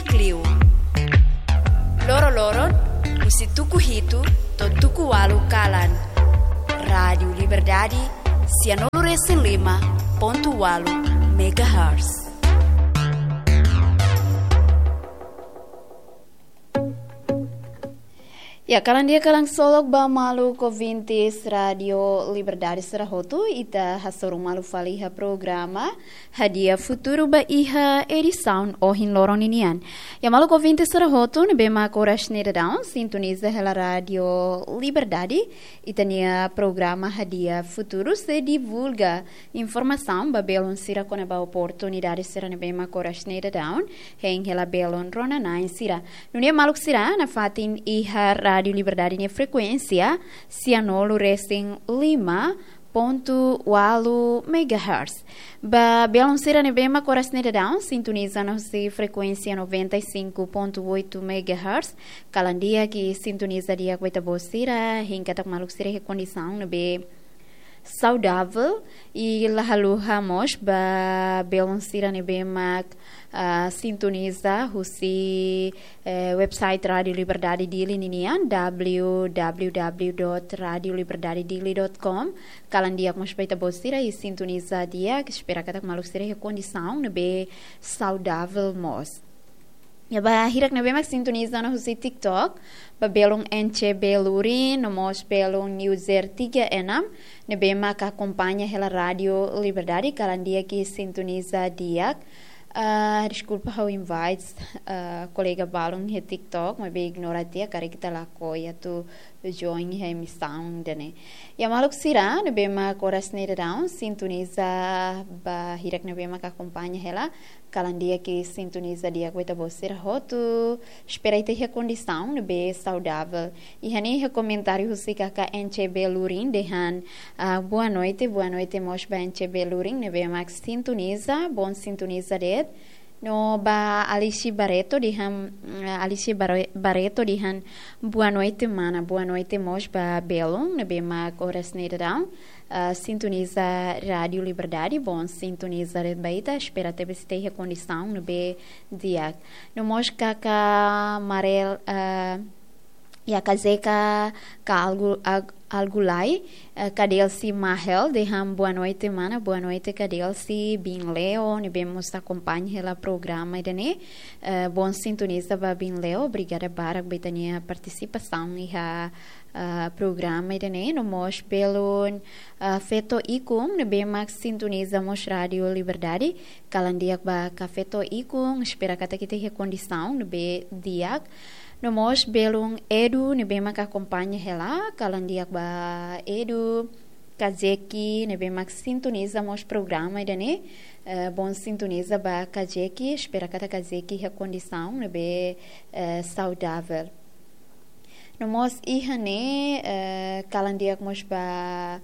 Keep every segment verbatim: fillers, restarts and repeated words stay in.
Klio. Loro-loron, husi tuku hitu to'o tuku ualu kalan. Rádiu Liberdade, sianulu-resin-lima pontu ualu megahertz. Ya, kalan di'ak, kalan solok ba maluk ouvintes Rádiu Liberdade sira hotu, ita hasoru malu fali iha programa Hadi'a Futuru ba iha edisaun ohin loron ninian. Ya, maluk ouvintes sira hotu ne'ebé mak oras ne'e daudaun sintoniza hela Rádiu Liberdade, ita-nia programa Hadi'a Futuru sei divulga informasaun ba belun sira kona-ba oportunidade sira ne'ebé mak oras ne'e daudaun hein hela belun rona-na'in sira. Nune'e maluk sira nafatin iha Rádiu Liberdade nia frekuénsia sianulu-resin-lima pontu ualu megahertz. Ba belun sira ne'ebé mak oras ne'e daudaun sintoniza ona husi frekuénsia noventa e cinco ponto oito megahertz, kalan di'ak i sintoniza di'ak ba ita-boot sira, hein katak maluk sira iha kondisaun ne'ebé saudavel, i la haluha mós ba belun sira ne'ebé mak, ah, sintoniza husi, eh, website Rádiu Liberdade Dili ninian, www dot radio liberdade dili dot com. Kalan di'ak mós ba ita-boot sira i sintoniza di'ak, espera katak maluk sira iha kondisaun ne'ebé saudavel mós. Ya, ba hirak ne'ebé mak sintoniza ona husi TikTok, ba belun N C B Lurin, no mós belun user tiga enam, ne'ebé mak akompaña hela Rádiu Liberdade, kalan di'ak i sintoniza di'ak. Ah, deskulpa, ha'u invite, ah, kolega balun iha TikTok, maibé ignora tiha, karik ita lakohi atu join iha emisaun ida-ne'e. Ya, maluk sira ne'ebé mak oras ne'e daudaun sintoniza, ba hirak ne'ebé mak akompaña hela, kalan di'ak i sintoniza di'ak ba ita-boot sira hotu. Espera ita iha kondisaun ne'ebé saudavel. Iha ne'e iha komentáriu husi kakan N C B Lurin dehan, ah, boa noite, boa noite mós ba N C B Lurin ne'ebé mak sintoniza, bom sintoniza de'it. No ba Alice Barreto dehan, mm, Alice Barre-, Barreto dehan, boa noite mana, boa noite mós ba belun ne'ebé mak oras ne'e daudaun, ah, sintoniza Rádiu Liberdade, bom sintoniza de'it ba ita, espera tebes ita iha kondisaun ne'ebé di'ak. No mós kakan Marel, ah, ya, Kazeka ka algu, ag-, algu lai, eh, Kadelsi Mahel, dehan boa noite mana, boa noite Kadelsi, Bin Leo, ne'ebé mós akompaña hela programa ida-ne'e, eh, bom sintoniza ba Bin Leo, obrigada barak ba ita-nia partisipasaun iha, eh, programa ida-ne'e, no mós belun, eh, Feto Ikun, ne'ebé mak sintoniza mós Rádiu Liberdade, kalan di'ak ba kakan Feto Ikun, espera katak ita iha kondisaun ne'ebé di'ak. No mós belun Edu ne'ebé mak akompaña hela, kalan di'ak ba Edu. Kazeki ne'ebé mak sintoniza mós programa ida-ne'e, eh, bom sintoniza ba Kazeki, espera katak Kazeki iha kondisaun ne'ebé, eh, saudavel. No mós iha ne'e, eh, kalan di'ak mós ba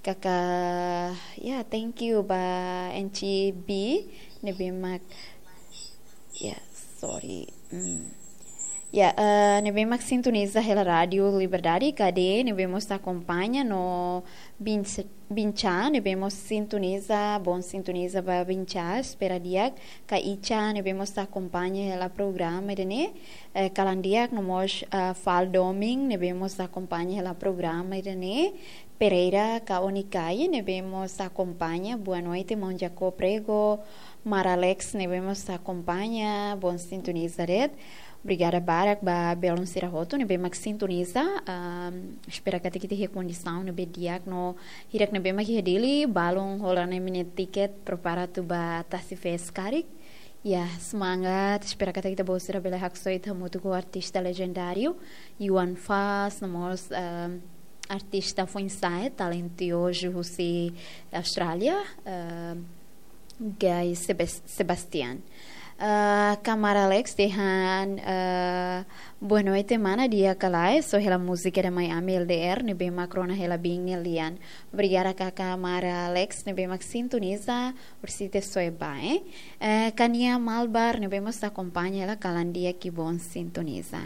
kakan, ya, thank you ba N C B ne'ebé mak, ya, sorry. Hmm. Ya, eh, ne'ebé mak sintoniza hela Rádiu Liberdade, Kade ne'ebé mós akompaña, no Bin, Bincha ne'ebé mós sintoniza, bom sintoniza ba Bincha, espera di'ak, ka Icha ne'ebé mós akompaña hela programa ida-ne'e, eh, kalan di'ak, no mós, ah, Fal Doming ne'ebé mós akompaña hela programa ida-ne'e, Pereira ka Onikai ne'ebé mós akompaña, boa noite maun Jaco Prego, Mara Alex ne'ebé mós akompaña, bom sintoniza de'it. Obrigada barak ba belun sira hotu ne'ebé mak sintoniza. Ahm, espera katak ita iha kondisaun ne'ebé di'ak no hirak ne'ebé mak iha Dili, balun hola ona imi-nia tiket, prepara atu ba Tasi Fest karik. Ya, semangat, espera katak ita-boot sira bele haksoit hamutuk ho artista lejendáriu, Yuan Fas, no mós, ahm, artista foin-sa'e, talentiozu husi Austrália, ahm, Guy Sebas-, Sebastian. Ah, kamarada Alex dehan, ah, boa noite mana, di'ak ka lae, só hela múzika da Miami L D R, ne'ebé mak rona hela biin nia lian. Obrigada kamarada Alex, ne'ebé mak sintoniza, orsida só e ba, eh. Eh, Kania Malbar, ne'ebé mós akompaña hela, kalan di'ak i bom sintoniza.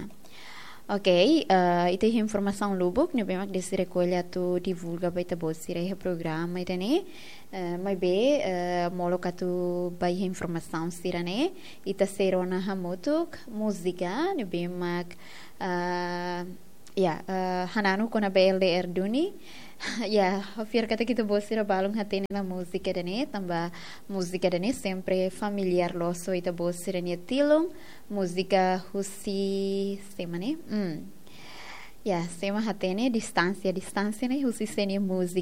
Ok, eh, ita iha informasaun lubuk ne'ebé mak Desi rekolla atu divulga ba ita-boot sira iha programa ida-ne'e. Eh, maibé, eh, molok atu ba iha informasaun sira-ne'e, ita sei rona hamutuk múzika ne'ebé mak, ah, ya, eh, hananu kona-ba L D R duni. Ya, ha'u fiar katak ita-boot sira balun hatene ona múzika ida-ne'e, tanba múzika ida-ne'e sempre familiár loos ho ita-boot sira-nia tilun. Múzika husi sé mak ne'e? Hmm. Ya, sé mak hatene Distánsia, Distánsia ne'e husi sé nia múzika.